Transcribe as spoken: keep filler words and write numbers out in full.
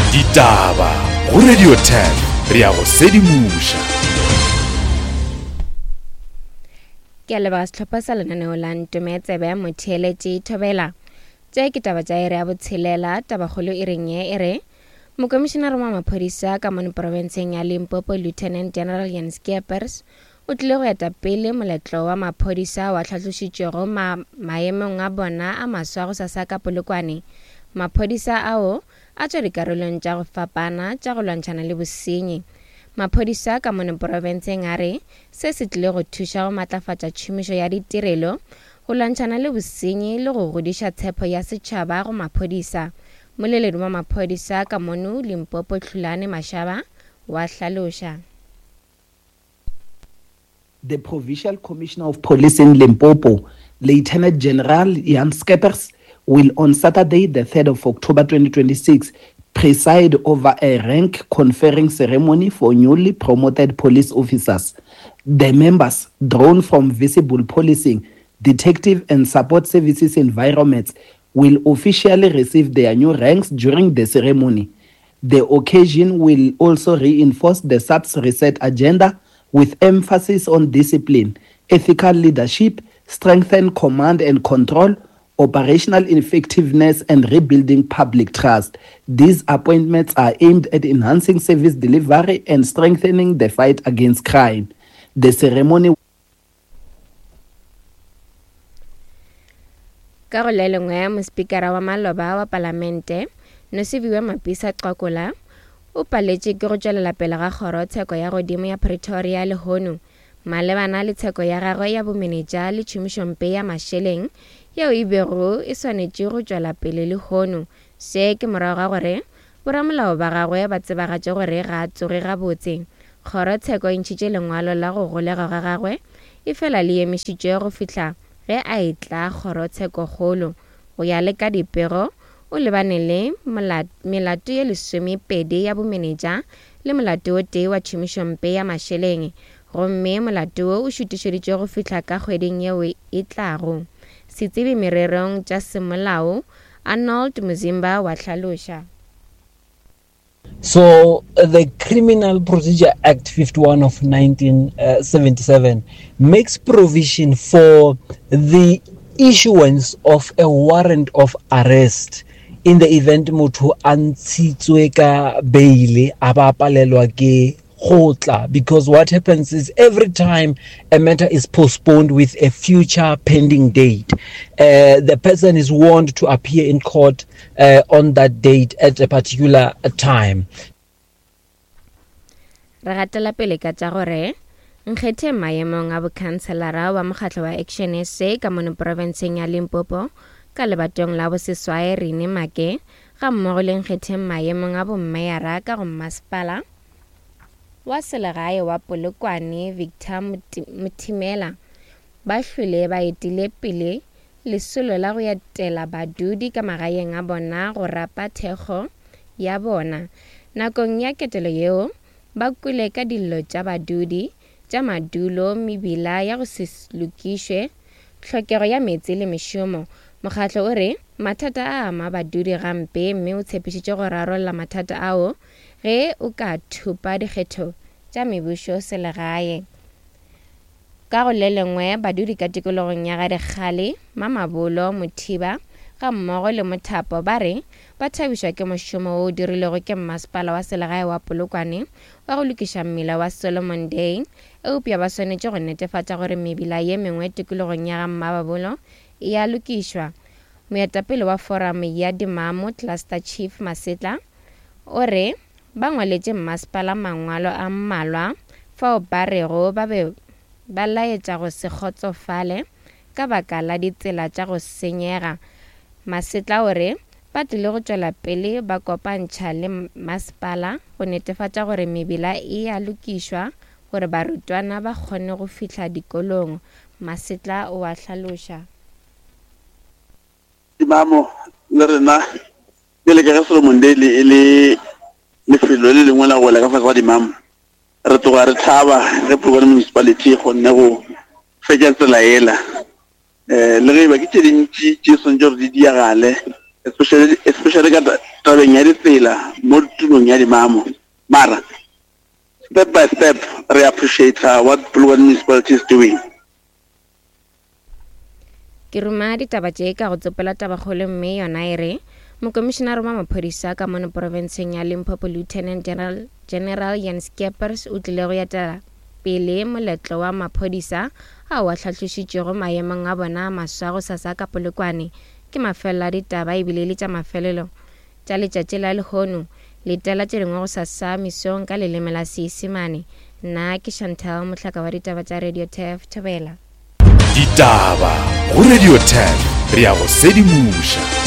Ditaba go Radio ten re ya go sedimoša. Ke a leboga sehlopha sa lenaneo la Ntome Tsebe Motheeletši Thobela. Tše ke taba tša iri ya botshelela, tabakgolo e reng ye e re Mokomišenare wa maphodisa ka mono profenseng ya Limpopo Lieutenant General Jan Skeepers o tlile go eta pele moletlo wa maphodisa wa tlhatlošitšwego ma maemong a bona a maswa go sasa ka Polokwane. Maphodisa ao a tšwa dikarolong tša go fapana tša go lwantšhana le bosenyi. Maphodisa ka mono profenseng a re se se tlile go thuša go matlafatša tšhomišo ya ditirelo, go lwantšhana le bosenyi le go godiša tshepo ya setšhaba go maphodisa. Moleledi wa maphodisa ka mono Limpopo Hlulani Mashaba wa hlaloša. The Provincial Commissioner of Police in Limpopo, Lieutenant General Jan Skeepers, will on Saturday, the third of October twenty twenty-six, preside over a rank conferring ceremony for newly promoted police officers. The members, drawn from visible policing, detective and support services environments, will officially receive their new ranks during the ceremony. The occasion will also reinforce the S A P S reset agenda with emphasis on discipline, ethical leadership, strengthen command and control, operational effectiveness, and rebuilding public trust. These appointments are aimed at enhancing service delivery and strengthening the fight against crime. The ceremony Ka go le lengwe, mospikara wa maloba wa palamente Nosiviwe Mapisa Nqakula o paletše ke go tšwelela pele ga kgorotsheko ya godimo ya Pretoria lehono malebana le tsheko ya gagwe ya bomenetša le tšhomišompe ya mašeleng yeo e bego e swanetše go tšwela pele lehono. Se ke morago ga gore boramolao ba gagwe ba tsebagatše gore ga a tsoge gabotse. Kgorotsheko e ntšhitše lengwalo la go golegwa ga gagwe e fela le emišitšwe go fihla ge a etla kgorotshekokgolo. Go ya le ka dipego, o lebane le melato ye lesomepedi ya bomenetša le molato o tee wa tšhomišompe ya mašeleng, gomme molato wo o šutišeditšwe go fihla ka kgweding yeo e tlago. Setsebi mererong tša semolao Arnold Muzimba wa hlaloša. So the Criminal Procedure Act fifty-one of nineteen seventy-seven makes provision for the issuance of a warrant of arrest in the event motho a ntshitswe ka bail a ba palelwa ke go tla, because what happens is every time a matter is postponed with a future pending date, uh, the person is warned to appear in court uh, on that date at a particular time. Re gatela pele ka tša gore nkgethe maemong a bokhanselara wa mokgatlo wa Action S A ka mono profenseng ya Limpopo ka lebatong la boseswai Rene Make ga mmogo le nkgetheng maemong a bommeyara ka go mmasepala wa selegae wa Polokwane Victor Mothimela ba hlwele ba etile pele lesolo la go etela badudi ka magaeng a bona go rapa thekgo ya bona. Nakong ya ketelo yeo ba kwele ka dillo tša badudi tša madulo, mebila ya go se lokišwe, tlhokego ya meetse le mešomo. Mokgatlo o re mathata a ama badudi gampe mme o tshepišitše go rarolla mathata ao ge o ka thupa dikgetho tša mebušo selegae. Ka go le lengwe, badudi ka tikologong ya Gadikgale, Mamabolo, Mothiba ga mmogo le Mothapo ba re ba thabišwa ke mošomo wo o dirilwego ke mmasepala wa selegae wa Polokwane wa go lokiša mmila wa Solomon Day, eupša ba swanetše go netefatša gore mebila ye mengwe tikologong ya ga Mmababolo e a lokišwa. Moetapele wa forum ya Dimamo Cluster Chief Masetla o re ba ngwaletše mmasepala mangwalo a mmalwa fao ba rego ba be ba laetša go se kgotsofale ka baka la ditsela tša go senyega. Masetla o re ba tlile go tšwela pele ba kopantšha le mmasepala go netefatša gore mebila e a lokišwa gore barutwana ba kgone go fihla dikolong. Masetla o a hlaloša. Dimamo le rena pele ka ge Solomon Day e le lefelo le lengwe la go wela ka fase ga Dimamo, re tloga re thaba ge Polokwane Municipality e kgonne go fetša tsela ela. Eh, le ge e ba ke tše dintši tše swanetše gore di diagale, especially especially ka tabeng ya ditsela mo tulong ya dimamo. Mara step by step re appreciate what Polokwane municipality is doing. Ke ruma ditaba tše ka go tsopola tabakgolo mme yona e re mokomišenare wa maphodisa ka mono porofenseng ya Limpopo Lieutenant General, General Jan Skeepers o tlile go etela pele moletlo wa maphodisa ao a hlahlošitšego maemong a bona a maswa go sasa ka Polokwane. Ke mafelelo a ditaba ebile le tša mafelelo tša letšatši la lehono. Letela tše dingwe go sasa mesong ka leleme la Seisemane. Nna ke Chantal Mohlaka wa ditaba tša Radio Turf Thobela. Ditaba go Radio ten re ya go sedimoša.